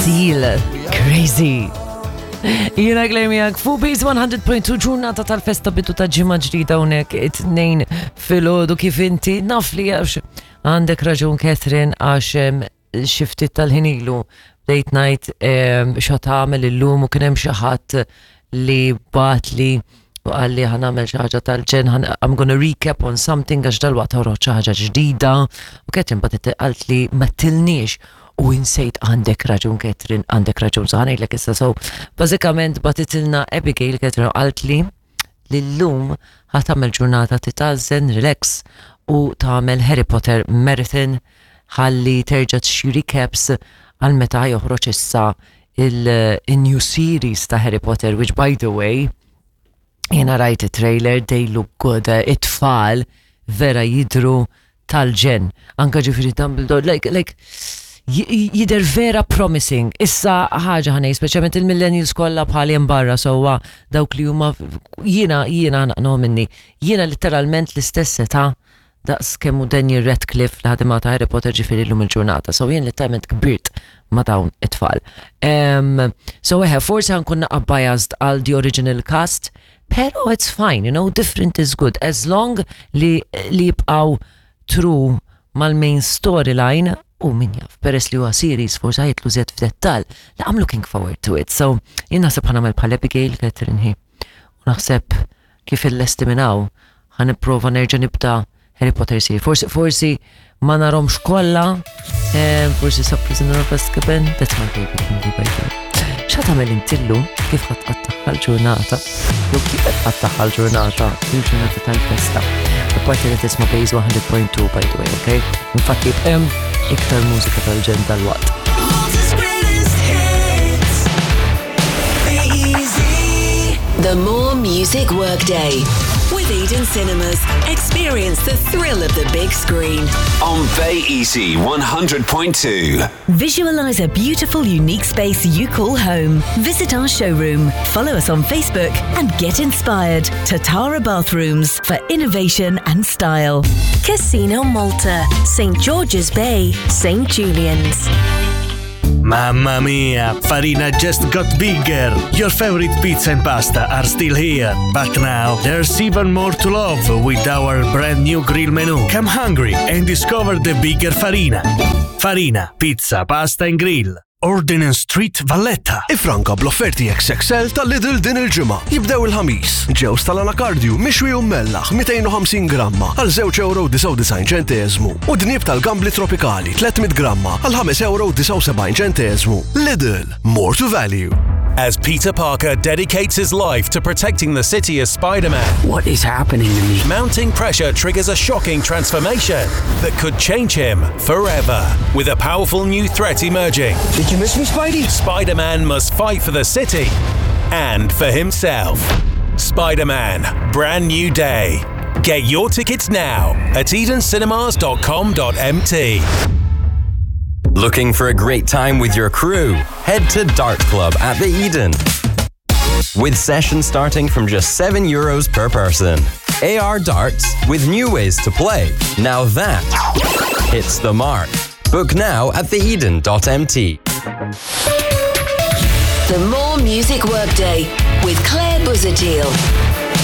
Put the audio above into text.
Seal, Crazy. Jiena Claire miegħek fuq Base 100.2 ġurnata tal-festa bidu ta' ġimgħa ġdida hawnhekk it-tnejn filgħodu kif inti naf li għax għandek raġun Catherine għax xi ftit tal-ħin ilu bdejt ngħid xa tagħmel illum u kien hemm xi ħadd li bagħatli u qal li ħa nagħmel xi ħaġa tal-ġenn I'm gonna recap on something għax dalwaqt toħroġ xi ħaġa ġdida u Catherine bagħtet qalt li ma tilniex u insejt għandek raġun Catherine għandek raġun so ħa ngħidlek issa so bażikament bagħtitilna Abigail Catherine u qalt li li llum ħa tagħmel ġurnata titgħażżen, relax u tagħmel Harry Potter marathon ħalli terġa' tixtri recaps għal meta joħroġ issa il-new series ta' Harry Potter, which by the way, jena rajt it-trailer, they look good, eh, it-tfal vera jidru tal-ġenn. Anka ġifiri Dumbledore, like, like, jider vera promising. Issa ħaġa ħanej, speċjalment il-millennials kollha bħali hemm barra sewwa dawk li huma jiena jiena naqnu minni. Jiena letteralment l-istess età daqs kemm hu Daniel Radcliffe li ħadimha ta' Harry Potter ġifieri llum il-ġurnata. So jien letteralment kbirt ma' dawn it-tfal. Um, so eħe, forsi ħankun naqa' biased għal the original cast, pero it's fine, you know, different is good. As long li, li jibqaw true mal-main storyline u min jaf, peress li huwa series forsi ħajtlu zed f'dettal, la I'm looking forward to it. So, jien naħseb ħanamel bħal Abigail Catherine hi. U naħseb kif illesti minn hawn ħa nipprova nerġa' nibda Harry Potter series. Forsi forsi ma narhomx kollha, eh, forsi sa Prisoner of Azkaban, that's my favorite movie by the way. X'ħa tagħmel inti llum kif ħa tqattagħha l-ġurnata? Jew kif qed tqattagħha l-ġurnata, il-ġurnata tal-festa. Apparti li tisma' Base 100.2 by the way, okay? Infatti hemm iktar mużika tal-ġenn tal-waqt. The More Music Workday. With Eden Cinemas, experience the thrill of the big screen. On Bay Easy 100.2. Visualize a beautiful, unique space you call home. Visit our showroom, follow us on Facebook, and get inspired. Tatara Bathrooms for innovation and style. Casino Malta, St. George's Bay, St. Julian's. Mamma mia, Farina just got bigger. Your favorite pizza and pasta are still here. But now there's even more to love with our brand new grill menu. Come hungry and discover the bigger Farina. Farina, pizza, pasta and grill. Ordinance Street, Valletta. Ifranka bl-offerti XXL ta' Lidl din il-ġimgħa. Jibdew il-ħamis. Ġewż tal-anakardju mixwi u mmellaħ 250 gramma għal 2.99 ċenteżmu u dnieb tal-gambli tropikali 300 gramma għal 5.79 ċenteżmu. Lidl, more to value. As Peter Parker dedicates his life to protecting the city as Spider-Man. What is happening to me? Mounting pressure triggers a shocking transformation that could change him forever. With a powerful new threat emerging. Did you miss me, Spidey? Spider-Man must fight for the city and for himself. Spider-Man, brand new day. Get your tickets now at edencinemas.com.mt. Looking for a great time with your crew? Head to Dart Club at the Eden. With sessions starting from just 7 euros per person. AR darts with new ways to play. Now that hits the mark. Book now at theeden.mt. The More Music Workday with Claire Buzadil.